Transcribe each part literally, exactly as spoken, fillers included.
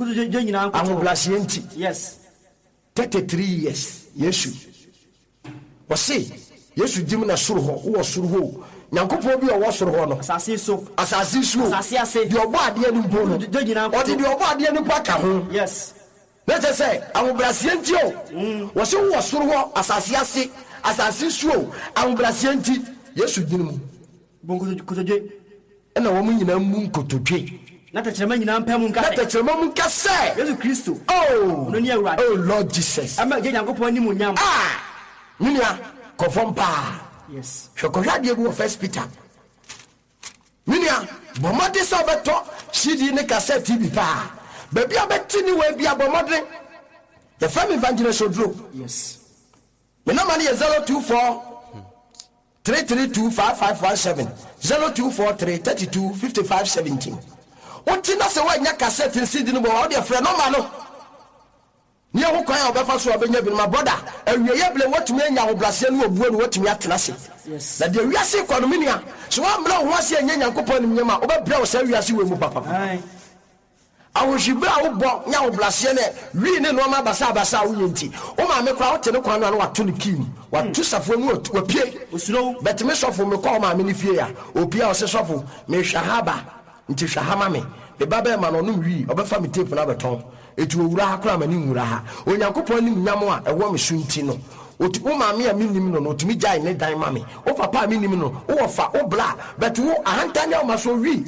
Kotodwe nyinaa nkoto. Ahobrɛaseɛ nti. Yes. thirty-three years Yesu. Wɔse Yesu gyim na soro hɔ, wowɔ soro hɔ o. Nyankopɔn bi a ɔwɔ soro hɔ no. Asase so. Asase so o. Asase ase. Deɛ ɔbɔ adeɛ no mpo no. Kotodwe nyinaa nkoto. Ɔde deɛ ɔbɔ adeɛ no mpo aka ho. Yes. Na kyerɛ sɛ ahobrɛaseɛ nti o. Wɔse wowɔ soro hɔ, asase ase, asase so o. Ahobrɛaseɛ nti Yesu gyina mu. Bu nkotodwe. Ɛna wɔn nyinaa mmu nkotodwe. Na tɛkyerɛma nyinaa mpae mu nka sɛ. Na tɛkyerɛma mu nka sɛ. Yesu Kristo. Oh. Ɔno ne Awurade. Oh Lord Jesus. Ɛma Agya Nyankopɔn animuonyam. Ah! Me nua, kɔ fam paa. Yes. Hwɛ kɔhwɛ adeɛ bi wɔ First Peter. Me nua, bɔ mmɔden sɛ wobɛtɔ C D ne cassette bi paa. Baabi a wobɛte ne wei bia, bɔ mmɔden. Yɛfrɛ me Evangelist Oduro. Yes. Me number no yɛ zero two four three three two five five one seven, zero two four three thirty-two fifty-five seventeen. Wote na sɛ woanya cassette ne C D no bɔ wa, wode frɛ number no ne ɛho kwan a wobɛfa so a wobɛnya bi no. Ma brother, awieyɛ berɛ woatumi anya ahobraseɛ ne obuo ne woatumi atena ase. Yes. Na deɛ wiase kɔ no, me nua, sɛ woammrɛ wo ho ase anyɛ Nyankopɔn animnyam a, wobɛbrɛ wo saa wiase wei mu papapa. Aye. Ahohwibere a wobɔ ne ahobraseɛ ne wii ne nneɔma basabasa a woyɛ nti, wo maame koraa wote ne kwan no a na wato ne kii mu, wato safoa mu, watu- wapue. Osuro wo. Bɛtumi sɔfo, mekɔ wo maame ne fie a, opie a ɔse, "Sɔfo, mehwɛ ha ba nti hwɛ ha ma me me ba bɛɛma no ɔnom wii, ɔbɛfa me tape no abɛtɔn." Ɛti ɔwura ha koraa ma ne nwura ha. Onyankopɔn anim nyam a ɛwɔ me so nti no, ɔti wo maame a mennim no no ɔtumi gyae ne dan ma me. Wo papa a mennim no, wowɔ fa wo bra bɛte wo ahantan ne awoma so wii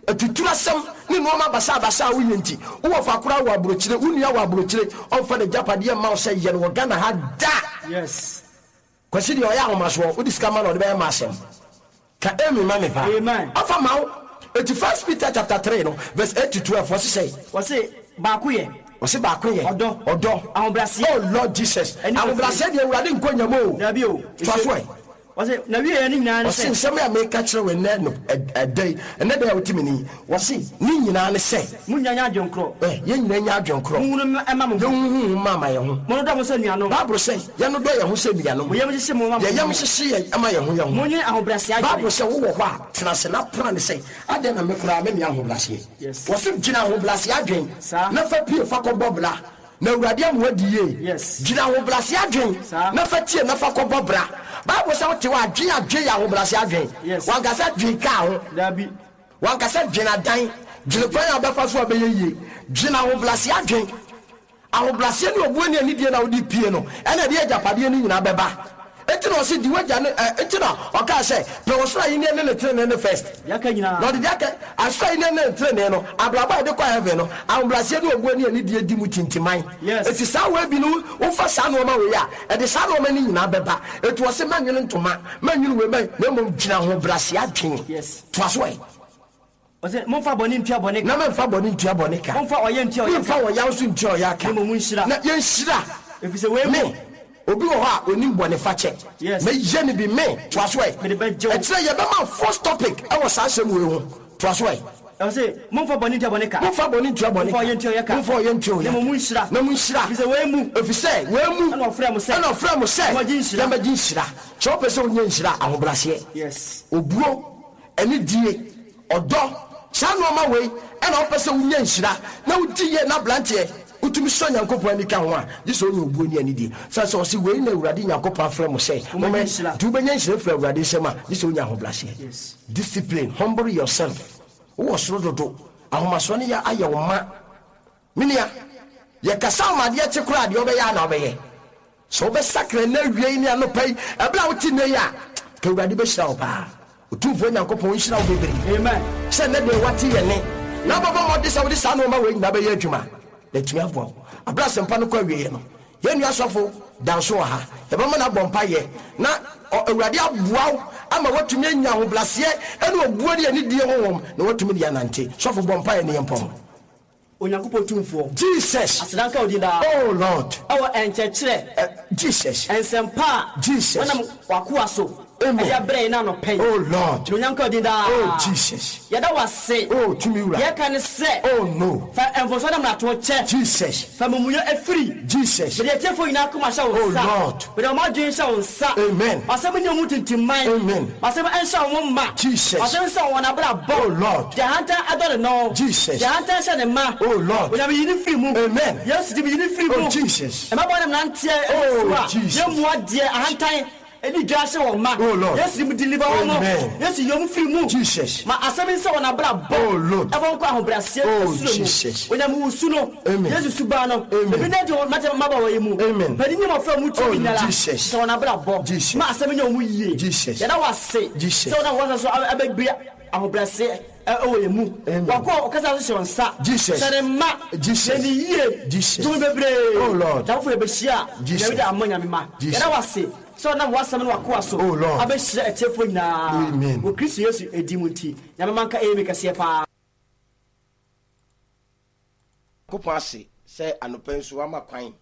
atuturu asɛm ne nneɔma basabasa a woyɛ nti, wowɔ fa koraa wɔ aburokyire, wo nua wɔ aburokyire, ɔmfa n'agyapadeɛ mma wo sɛ yɛ no wɔ Ghana ha da. Yes. Kwasi deɛ ɔyɛ ahomasoɔ, wode sika ma na ɔde bɛyɛ ma asɛm ka. Amen ma me paa. Amen. Ɔfa ma wo. Eti First Peter chapter three no verse eight to twelve, wɔse sɛ Wɔse baako yɛ. Wɔse baako yɛ. Ɔdɔ. Ɔdɔ. Ahobrɛaseɛ. Oh Lord Jesus. Ɛne ahobrɛaseɛ deɛ, Awurade nkɔ nyam o. Dabi o. Toa so ɛ. Wɔse na wie yɛ ne nyinaa ne ɔse sɛ. Nsɛm a meka kyerɛ wo ɛnɛ no, ɛ- ɛda yi, ɛnɛ da a wote me ni, wɔse ne nyinaa ne sɛ mo nyinaa nyɛ adwenkorɔ. ɛ, yɛn nyinaa nya adwenkorɔ. Monhunu ɛma mo ho. Yɛnhuhu ma ama yɛn ho. Monnodɔ mo sɛ nuanom. Bible sɛ yɛnodɔ yɛn ho sɛ nuanom. Mo yam hyehye mo ma mo yɛyam ho. hyehye yɛ ama yɛn ho yɛn ho. Monnwene ahobrɛaseɛ Bible adwene. sɛ wowɔ hɔ a, tena ase na pra ne sɛ adɛn na me koraa me nea ahobrɛaseɛ. Yes. Wɔso gyina ahobrɛaseɛ adwen Saa. na fa pie fa kɔbɔ bra na Awurade ama wadi yie. Yes. Gyina ahobrɛaseɛ adwen Saa. na fa tie na fa kɔbɔ bra. Bible sɛ wote hɔ adwen, adwen yɛ ahobrɛaseɛ adwen. Yes. Wankasa dwen kaa ho. Dabi. Wankasa dwen adan, dwene kwan a wobɛfa so a bɛyɛ yie. Dwene ahobrɛaseɛ adwen. Ahobrɛaseɛ ne obuo ne anidie na wode pie no, ɛna ɛde agyapadeɛ no nyinaa bɛba. Enti na ɔse di wagya ne ɛ, enti na ɔkaa sɛ pɛ wɔ soro ahenni ne ne tenenee ne first. Yɛaka nyinaa. Na ɔde deɛ aka asoro ahenni ne ne tenenee no, abrabɔ a yɛde kɔ heaven no, ahobrɛaseɛ ne obuo ne anidie di mu tintiman. Yes. Eti saa wei bi no, wofa saa nneɛma wei a, ɛde saa nneɛma no nyinaa bɛba. Eti wɔse mɛnwene ntoma, mɛnwene wei, mɛ na mmom gyina ahobrɛaseɛ adwen. Yes. Toa so ɛ. Ɔsɛ momfa bɔne ntua bɔne na ka. mɛmfa bɔne ntua bɔne ka. Momfa ɔyɛ ntua ɔyɛ memfa ka. ɔyaw so ntua ɔyɛ ka. Na mmom nhyira. Na yɛnhyira. Ɛfiri sɛ wei mu me obi wɔ hɔ a onim bɔne fakyɛ. Yes. Mɛyɛ no bi me. Toa so ɛ. Mede bɛgye wo. Ɛkyerɛ yɛbɛma first topic ɛwɔ saa asɛm wei ho. Toa so ɛ. Ɔsɛ momfa bɔne ntua bɔne ka. Momfa bɔne ntua bɔne Momfa ka. ɔyɛ ntua ɔyɛ ka. Momfa ɔyɛ ntua ɔyɛ Na mmom nhyira. Na monhyira. Ɛfiri sɛ wei mu ɛfiri sɛ wei mu ɛna ɔfrɛ mo sɛ ɛna ɔfrɛ mo sɛ yɛmmɛgye nhyira. Yɛmmɛgye nhyira. Sɛ wopɛ sɛ wonya nhyira, ahobrɛaseɛ, Yes. obuo, ɛne die, ɔdɔ, saa nneɔma wei ɛna wopɛ sɛ wonya nhyira na wodi yie na aberanteɛ wotumi sɔ Nyankopɔn ani ka ho a, gye sɛ wonya obuo ne anidie, sane sɛ ɔse wei na Awurade Nyankopɔn afrɛ mo sɛ Mommɛgye nhyira. nti wobɛnya nhyira firi Awurade nsɛm a, gye sɛ wonya ahobrɛaseɛ. Yes. Discipline, humble yourself. Wowɔ soro dodo, ahomasoɔ no yɛ ayɛ wo ma. Menua, yɛkasa wo ma adeɛ kye koraa, deɛ wobɛyɛ a na wobɛyɛ sɛ wobɛsakra nnɛ awie yi ne anɔpa yi, ɛberɛ a wote nnɛ yi a, ka Awurade bɛhyira wo paa. Ɔtumfoɔ Nyankopɔn nhyira wo bebree. Amen. Sɛ nnɛ deɛ wate yɛ ne na wobɛbɔ mmɔde sɛ wode saa nnoɔma wei nyinaa bɛyɛ adwuma na atumi aboa wo aberɛ asɛmpa no kɔ awieɛ no. Yɛn nua sɔfo da nso wɔ ha, yɛbɛma no abɔ mpayɛ na ɔ- Awurade aboa wo ama woatumi anya ahobraseɛ ɛne obuo ne anidie honhom na woatumi de anante. Sɔfo, bɔ mpayɛ ne yɛmpɔ. Onyankopɔn tumfoɔ, Jesus. Aseda nka wo din daa. Oh Lord. Ɛwɔ ɛnkyɛkyerɛ uh, Jesus. Nsɛmpa a Jesus. wɔnam w'akoa so Amen. Ɛde abrɛ yɛn anɔpa yi. Oh Lord. Onyankopɔn din daa. Oh Jesus. Yɛda wo ase. Oh tumi wura. Yɛka ne sɛ. Oh no. Fa mfomsoɔ ne mmarato kyɛ. Jesus. Fa mumuyɛ afiri. Jesus. Mede atiefoɔ nyinaa koma hyɛ wo Oh nsa. Lord. Mede wɔn adwene hyɛ wo nsa. Amen. Asɛm nyɛ wɔn tintimman. Amen. Asɛm nhyɛ wɔn ma. Jesus. Asɛm nhyɛ wɔn abrabɔ. Oh Lord. Deɛ ahantan adɔre no. Jesus. Deɛ ahantan hyɛ ne ma. Oh Lord. Onyame yi ne firi mu. Amen. Yesu di mi yi ne firi Oh mu. Jesus. Ɛmabɔ ne mmeranteɛ Oh, ɛfiri so a Jesus. yɛmmu adeɛ ahantan ɛdi dwa hyɛ wɔn ma. Oh, Lord. Yesu di mu deliver wɔn mo. Amen. Yesu yi wɔn firi mu. Jesus. Ma asɛm nsɛ wɔn abrabɔ. Oh, Lord. Ɛfɔ nkɔ ahobrɛaseɛ Oh, ɛsoro mu. Jesus. Onyame wusu no. Amen. Yesu suban no. Amen. Ebi ne de wɔn mate mmabɔ wɔ yi mu. Amen. Panin ne mmɔfra mu Oh, tumi nyala. Jesus. Sɛ wɔn abrabɔ. Jesus. Ma asɛm nyɛ wɔn yie. Jesus. Yɛda wo ase. Jesus. Sɛ wɔn a wɔn so abɛbia ahobrɛaseɛ ɛ- ɛwɔ yɛn mu. Amen. Wakɔ ɔkasa so hyɛ wɔn nsa. Jesus. Hyɛ ne mma. Jesus. Yɛ ne yie. Jesus. Tumi bebree. Oh, Lord. Dawofo yɛbɛhyia. Jesus. Nyame de ama Nyame ma. Jesus. Yɛda wo ase. Sɛ ɔnam w'asɛm ne w'akoa so. Oh, Lord. Abɛhyira atiefoɔ nyinaa. Amen. Wɔ Kristo Yesu edi mu nti. Nyame ma nka ɛyɛ mi kɛseɛ paa. Nyankopɔn ase sɛ anɔpa nso wama kwan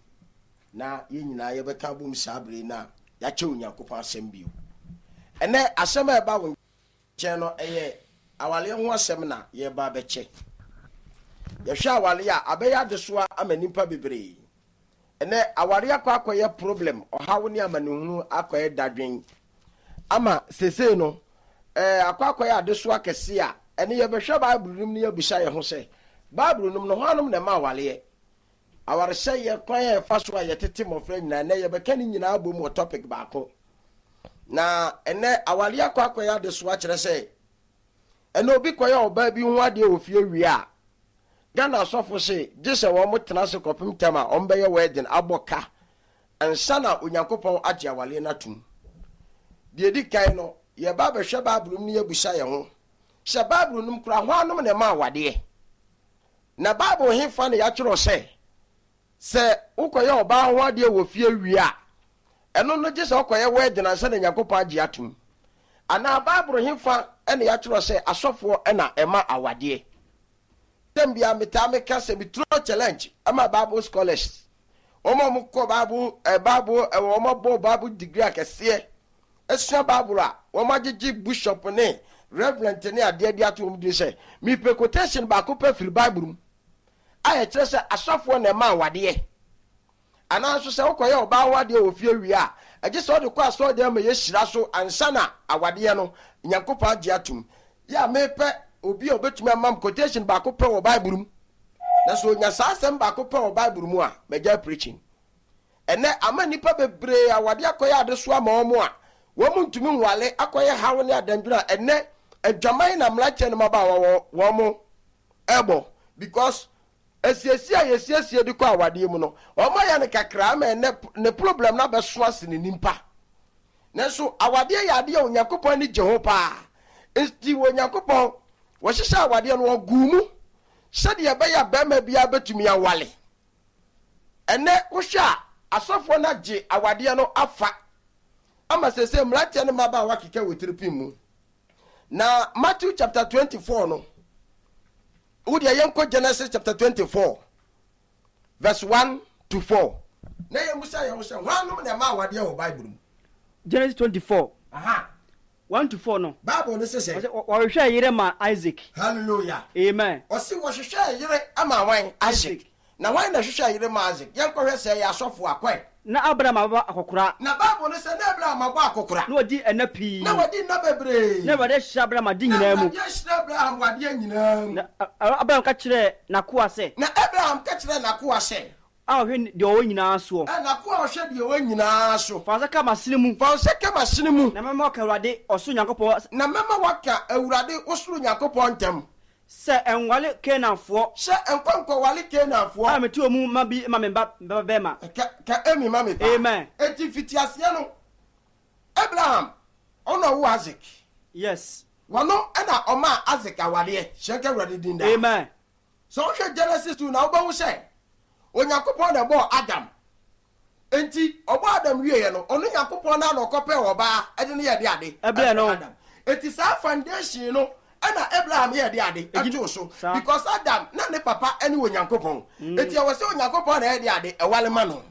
na yɛn nyinaa yɛbɛka abom saa bere na yɛakyɛ Onyankopɔn asɛm bio. Ɛnɛ asɛm a ɛba wo nkyɛn no ɛyɛ awaleɛ ho asɛm na yɛba abɛkyɛ. Yɛhwɛ awaleɛ a abɛyɛ adesoa ama nnipa bebree. Ɛnɛ awareɛ akɔ akɔyɛ problem, ɔhaw ne amanehunu akɔyɛ dadwen. Ama seesei no, ɛɛ akɔ akɔyɛ adesoa kɛse a ɛne yɛbɛhwɛ Bible no mu ne yɛabisa yɛn ho sɛ, Bible no mu no hwannom na ɛma awaleɛ? Awaresɛeɛ kwan a yɛfa so a yɛtete mmɔfra nyinaa, ɛnɛ yɛbɛka ne nyinaa bom wɔ topic baako. Na ɛnɛ awareɛ akɔ akɔyɛ adesoa kyerɛ sɛ, ɛnɛ obi kɔyɛ ɔbaa bi ho adeɛ wɔ fie wie a, Ghana asɔfo se gye sɛ wɔn tena ase kɔpem tɛm a wɔn bɛyɛ wedding abɔ ka ansa na Onyankopɔn agye awareɛ no atom. Deɛ edi kan no, yɛba abɛhwɛ Bible mu ne yɛabisa yɛn ho sɛ Bible no mu koraa hwannom na ɛma awadeɛ? Na Bible he fa na yɛatwerɛ sɛ, sɛ wokɔyɛ ɔbaa ho adeɛ wɔ fie wie a, ɛno no gye sɛ wokɔyɛ wedding ansa na Onyankopɔn agye atom. Anaa Bible he fa na yɛatwerɛ sɛ asɔfoɔ na ɛma awadeɛ. Tɛm bia metaa meka sɛ meturo challenge ama Bible scholars. Wɔn a wɔkɔ Bible, eh, Bible, eh, wɔn abɔ Bible degree akɛseɛ, asua Bible a wɔn agyegye bishop ne reverend ne adeɛ de ato wɔn din sɛ, mepɛ quotation baako pɛ firi Bible mu a yɛkyerɛ sɛ asɔfoɔ na ɛma awadeɛ. Anaa nso sɛ wokɔyɛ ɔbaa ho adeɛ wɔ fie wie a, ɛgye sɛ wode kɔ asɔredan ma yɛhyira so ansa na awadeɛ no Nyankopɔn agye atom. Yɛ a mepɛ obi a obetumi ama m quotation baako pɛ wɔ Bible mu. Na sɛ onya saa asɛm baako pɛ wɔ Bible mu a, magya preaching. Ɛnɛ ama nnipa bebree awadeɛ akɔyɛ adesoa ama wɔn a wɔn ntumi nwale akɔyɛ haw ne adandwene a ɛnɛ adwaman na mmeranteɛ no mmabaawa wɔn ɛbɔ because asiesie a yɛsiesie de kɔ awadeɛ mu no wɔn ayɛ no kakra ama ɛnɛ ne problem no abɛso ase ne nimpa. Nanso awadeɛ yɛ adeɛ a Onyankopɔn ani gye ho paa. Nti Onyankopɔn wɔhyehyɛ awadeɛ no ɔguu mu sɛdeɛ ɛbɛyɛ a bɛrima biara bɛtumi awale. Ɛnɛ wohwɛ a asɔfoɔ no agye awadeɛ no afa ama sɛsɛ mmeranteɛ no mmabaawa keka wɔ tiripin mu. Na Matthew chapter twenty-four no, wodeɛ yɛnkɔ Genesis chapter twenty-four verse one to four. Na yɛmmusa yɛn ho sɛ hwannom na ɛma awadeɛ wɔ Bible mu? Genesis twenty-four. Aha. one to four no. Bible no sɛ sɛ. Ɔsɛ wɔhwehwɛ yere ma Isaac. Hallelujah. Amen. Ɔsi wɔhwehwɛ yere ama wan Isaac. Na wan na hwehwɛ yere ma Isaac? Yɛnkɔhwɛ sɛ ɛyɛ asɔfo akɔe. Na Abraham aba akɔkora. Na Bible no sɛ na Abraham abɔ akɔkora. Na wadi ɛna pii. Na wadi nna bebree. Na Awurade ahyira Abraham ade nyinaa mu. Na Awurade ahyira Abraham adeɛ nyinaa mu. Na Abraham ka kyerɛɛ n'akoa sɛ. Na Abraham ka kyerɛɛ n'akoa sɛ. A ɔhwɛ deɛ ɔwɔ nyinaa soɔ. Ɛ n'akoa a ɔhwɛ deɛ ɔwɔ nyinaa so. Fa nsa ka m'asene mu. Fa nsa ka m'asene mu. Na mɛma waka Awurade ɔsoro Nyankopɔn. Na mɛma waka Awurade ɔsoro Nyankopɔn ntam. Sɛ ɛnwale Kanaanfoɔ. Sɛ ɛnkɔ nkɔwale Kanaanfoɔ. A mete wɔn mu ma bi ma me ba ba bɛrima. Ka ka emi ma me ba. Amen. Eti fitiaseɛ no, Abraham ɔno ɔwo Isaac. Yes. Wɔno ɛna ɔmaa Isaac awadeɛ. Hyɛn ka Awurade din daa. Amen. Sɛ wohwɛ Genesis two na wobɛhu sɛ Onyankopɔn na ɛbɔɔ Adam. Enti ɔbɔɔ Adam wieɛ no, ɔno Nyankopɔn na na ɔkɔpɛɛ ɔbaa ɛde ne yɛ de ade. Ɛbrɛ no. Adam. Enti saa foundation no ɛna Abraham yɛ de ade ɛtoo so. Because Adam na ne papa ɛne Onyankopɔn. Enti ɛwɔ sɛ Onyankopɔn na ɛyɛ de ade ɛwale ma no.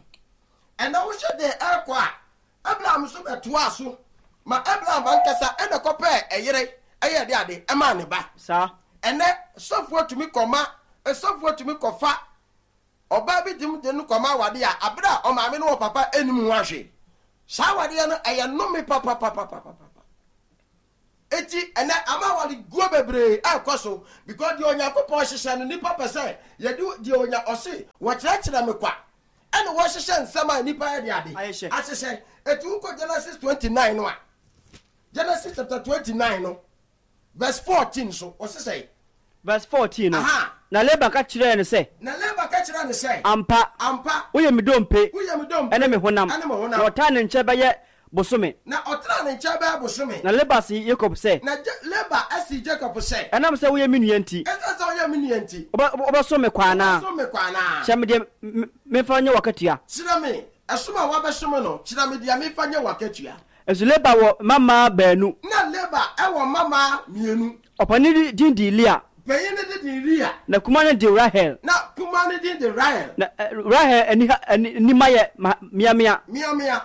Ɛna wohwɛ deɛ ɛrekɔ a, Abraham nso bɛtoaa so Ma Abraham ankasa ɛna kɔpɛɛ ɛyere ɛyɛ de ade ɛmaa ne ba. Saa. Ɛnɛ sɔfoɔ tumi kɔma, sɔfoɔ tumi kɔfa ɔbaa bi de de no kɔma awadeɛ a, abere a ɔmaame no wɔ papa anim ho ahwɛ saa awadeɛ no, ɛyɛ nnome papapapapapa. Eti ɛnɛ ama aware guo bebree ɛkɔ so because deɛ Onyankopɔn hyehyɛ no, nipa pɛ sɛ yɛde deɛ onya ɔse wɔkyerɛkyerɛ me kwa, ɛna wɔhyehyɛ nsɛm a nipa yɛ de ade Ahyehyɛ. Ahyehyɛ. Eti wokɔ Genesis twenty nine no a, Genesis chapter twenty nine no verse fourteen so, ɔse sɛ Verse fourteen no, Aha. na Laban ka kyerɛɛ no sɛ, Na Laban ka kyerɛ no sɛ, "Ampa, "Ampa, woyɛ me dompe woyɛ me dompe ɛne me honam." Ɛne me honam. Na ɔtaa ne nkyɛn bɛyɛ bosome. Na ɔtena ne nkyɛn bɛyɛ bosome. Na Laban se Yakob sɛ, Na Ja- Laban asi Jacob sɛ, "Ɛnam sɛ woyɛ me nua nti, "Ɛsiane sɛ woyɛ me nua nti, wobɛ- wobɛsom me kwa anaa? Wobɛsom me kwa anaa? Kyerɛ me deɛ m- memfa nyɛ w'akatua." Kyerɛ me ɛsom a wabɛsom no, kyerɛ me deɛ memfa nyɛ w'akatua. Nso Laban wɔ mmammaa baanu. Na Laban ɛwɔ mmammaa mmienu. Ɔpanin din de Lea, Panyin no de de Lea, na kuma no de Rahel. Na kuma no din de Rahel. Na eh, Rahel ani ha- ani- anim ayɛ ma- meamea. Meamea.